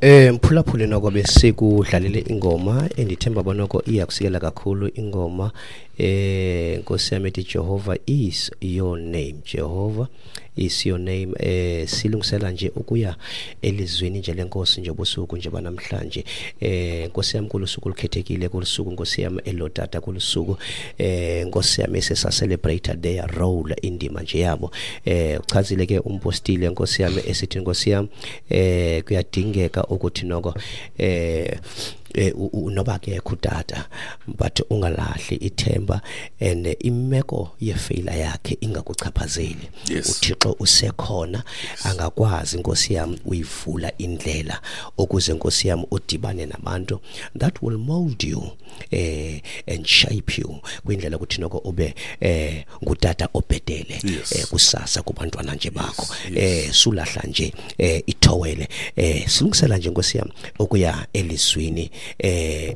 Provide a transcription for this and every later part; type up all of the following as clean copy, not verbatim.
Mphulaphuli, noko besikudlalele ingoma endithemba bonoko iyakusikela kakhulu ingoma, Nkosi yami, ethi "Jehovah is your name, Jehovah is your name". Silungisela nje ukuya elizweni nje lenkosi nje busuku nje banamhlanje. Nkosi yami, kulusuku olukhethekile, kulusuku, Nkosi yami, elotata, kulusuku, Nkosi yami, esesa celebrate their role, indima nje yabo. Uchazile ke umpostile, Nkosi yami, esithi, Nkosi yami, kuyadingeka ukuthi noko noba kekho utata, but ungalahli ithemba and imeko yefailure yakhe ingakuchaphazeli. UThixo usekhona, angakwazi, Nkosi yami, uyivula indlela ukuze, Nkosi yami, udibane nabantu that will mold you and shape you kwindlela ukuthi noko ube ngutata obhetele kusasa kubantwana nje bakho. Sulahla nje ithowele. Silungisela nje, Nkosi yami, ukuya elizwini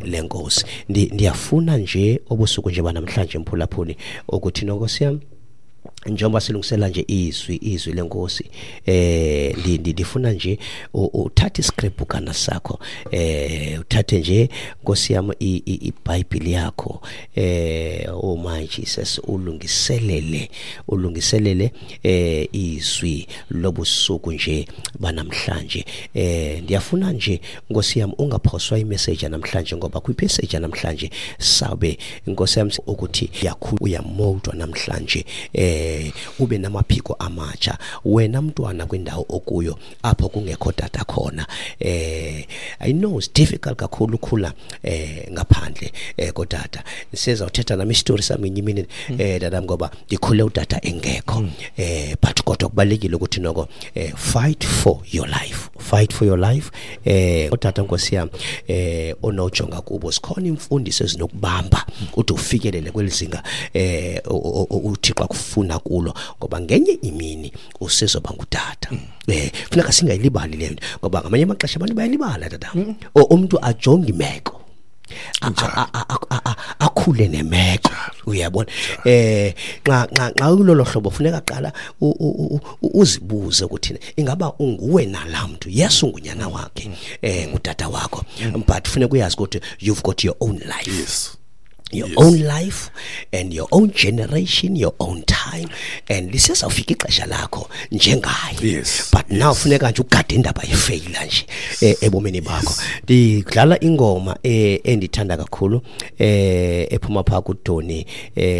lenkosi. Ndiyafuna nje obusuku nje banamhlanje, mphulaphuli, ukuthi nonkosi yami, njengoba silungisela nje izwi lenkosi, ndifuna nje uthathe iscript sakho, uthathe nje, Nkosi yami, iBhayibheli yakho, oh my Jesus, ulungiselele izwi lobusuku nje banamhlanje. Ndiyafuna nje, Nkosi yami, ungaphoswa imessage namhlanje, ngoba kwimessage namhlanje sabe, Nkosi yami, ukuthi yakhulu uyamoldwa namhlanje, ube namaphiko amatsha wena mntwana kwindawo okuyo apho kungekho tata khona. I know it's difficult kakhulu ukhula ngaphandle kotata. Sizawuthetha nami isitori sami ngenye imini, tata, ngoba ndikhule utata engekho, but kodwa kubalekile ukuthi noko fight for your life, fight for your life. Utata, Nkosi yami, onojonga kubo, sikhona imfundiso ezinokubamba ude ufikelele kwelizinga uThixo akufuna kulo, ngoba ngenye imini usezoba ngutata. Funeka singayilibali le nto, ngoba ngamanye amaxesha abantu bayalibala, tata. Umuntu ajonge imeko, akhule nemeko, uyabona. Nxa kulolo hlobo funeka qala uzibuze ukuthi ingaba unguwe nalamntu. Yes, ungunyana wakhe, ngutata wakho, but funeka uyazi ukuthi you've got your own life, your own life and your own generation, your own time, and lisezawufika ixesha lakho njengaye. But now funeka nje ugade indaba yefailure nje ebomini bakho. Ndidlala ingoma endithanda kakhulu, ephuma phaa kuDoni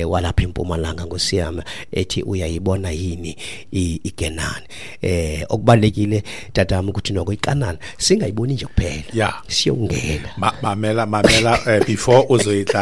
walapha eMpumalanga, ngosiyama, ethi "Uyayibona yini iKenani?" Okubalekile, tatami, ukuthi noko iKanani singayiboni nje kuphela, siyongena. Mamela, mamela, before uzoyidlala.